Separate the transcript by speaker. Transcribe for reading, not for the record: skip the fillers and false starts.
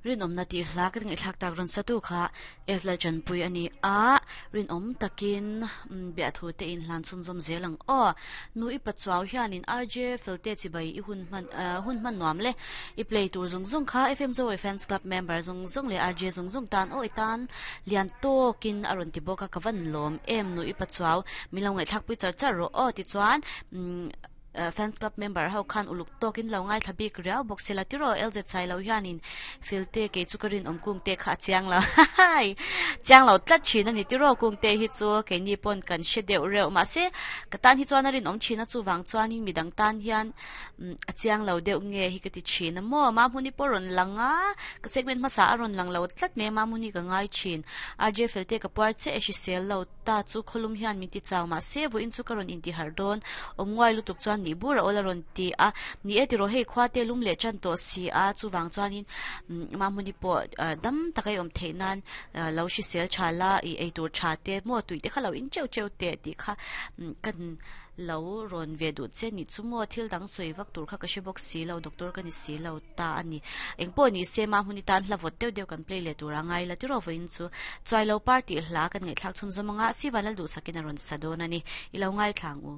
Speaker 1: Rinawmna tih hla kan ngaihthlak tak rawn satu kha F Lalchanpui a ni a, rinawm takin biahthu te in hlan chhunzawm zel ang aw. Nu i pachuau hianin RJ Felte chibai i hun hman hun hman nuam le. I play tur zung zung kha FM Zoe Fans Club member zung zung leh RJ zung zung tan aw i tan lian tawkin a rawn ti bawk a, ka van lawm em nu i pachuau min lo ngaihthlak pui char char rawh aw tichuan Fans club member ho khan uluk tawkin lo ngaithla bik riau bawk sela tiraw LZ Sailo hianin Filte kei chu ka rinawm kungte kha a chiang lo hahaii chiang lo tlat thin a ni tiraw kungte hi chu keini pawn kan hre deuh reuh mahse ka tan hi chuan a rinawm thin a chuvang chuanin midang tan hian a chiang lo deuh nge hi ka ti thin a maw Mahmuni pawh rawn lang a ka segment hmasa a rawn lang lo tlat mai a Mahmuni ka ngai thin RJ Felte ka puar che e hrisel lo Ta chu khawlum hian min ti chau mah se, vawiin chu ka rawn inti harh dawn. Awm nguai lutuk chuan nih bur a awl a rawn ti a. Ni e tiraw hei khua te lum leh tan tawh si a, chuvang chuanin Mahmuni pawh dam taka i awm theih nan lo hrisel tha la, i eitur tha te maw tui te kha lo in teuh teuh teh tih kha kan Lo rawn ve duh che nih chu maw? Thil dang sawi vak tur kha ka hre bawk si lo, doctor ka ni si lo ta a ni. Engpawh ni se mah hmun i tan hla vawt deuh deuh kan play leh tur a ngai la tiraw vawiin chu. Chuailo par tih hla kan ngaihthlak chhunzawm anga Sivan Lalduhsakin a rawn sa dawn a ni. I lo ngaithla ang u.